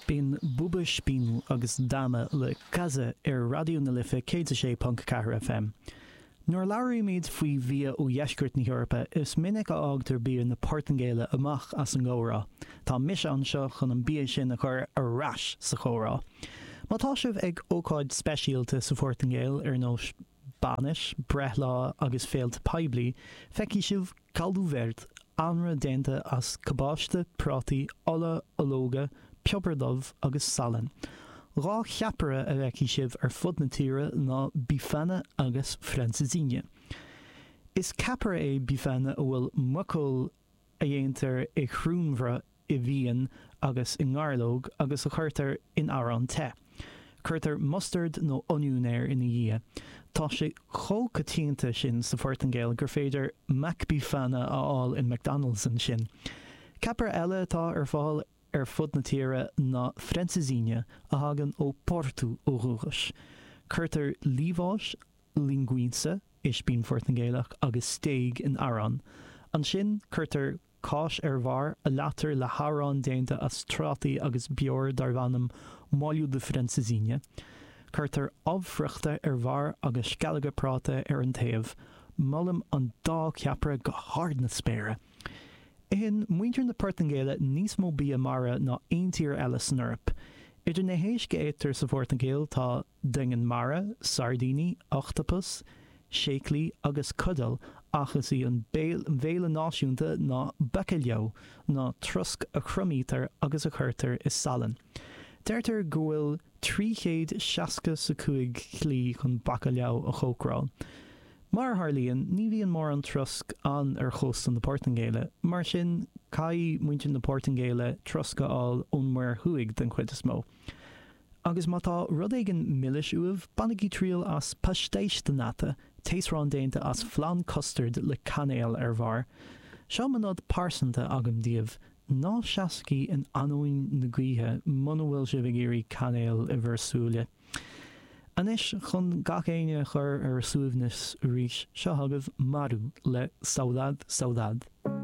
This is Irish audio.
B'in Buba Espino agus Dama le Casa ar Raidió na Life 106.4 FM. Nuair a labhraímid faoi bhia ó dheisceart na hEorpa, is minic a fhágtar bia na Portaingéile amach as an gcomhrá. Tá mise anseo chun an bia sin a chur ar ais sa chomhrá. Má tá sibh ag ócáid speisialta sa Phortaingéil, ar nós bainis, breithlá agus féilte poiblí, feicfidh sibh caldo verde, anraith déanta as cabáiste, prátaí, ola ológa, piobar dubh agus salann. 2 cheapaire a bhfeicfidh sibh ar fud na tíre ná bifana agus francesinha. Is ceapaire é bifana a bhfuil muiceoil a dhéantar i chruinnbhruth i bhfíon agus i ngairleog agus a chuirtear in arán te. Cuirtear mustard nó oinniún air ina dhiaidh. Tá sé chomh coitianta sin sa Phortaingéil gur féidir McBifana a fháil in McDonald's ansin. Ceapaire eile atá ar fáil ar fud na tíre ná francesinha, a thagann ó Porto ó dhúchas. Cuirtear liamhás, linguiça, ispín Phortaingéalach, agus stéig in arán. Ansin cuirtear cáis ar bharr, a leáitear le harán déanta as trátaí agus beoir darb ainm molho de francesinha. Cuirtear ubh friochta ar bharr agus sceallóga práta ar an taobh. Molaim an dá cheapaire go hard na spéire! Itheann muintir na Portaingéile níos mó bia mara ná aon tír eile san Eoraip. Idir na héisc a itear sa Phortaingéil tá doingean mara, sairdíní, ochtapas, séaclaí agus cudail ach is í an béile náisiúnta ná bacalhau, ná trosc a thriomaítear agus a chuirtear i salann. Deirtear go bhfuil 365 shlí chun bacalhau a chócaráil. Mar a tharlaíonn, ní bhíonn mórán trosc ann ar chósta na Portaingéile, mar sin caithfidh muintir na Portaingéile trosc a fháil ón Muir Thuaidh den chuid is mó. Agus má tá rud éigin milis uaibh, bainigí triail as pastéis de nata, taosrán déanta as flann custard le cainéal ar bharr. Seo mo nod pearsanta agam daoibh, ná seasaigí in ainneoin na gaoithe muna bhfuil sibh ag iarraidh cainéal i bhur súile. Anois, chun gach éinne a chur ar a suaimhneas arís, seo chugaibh Maru le Saudade Saudade.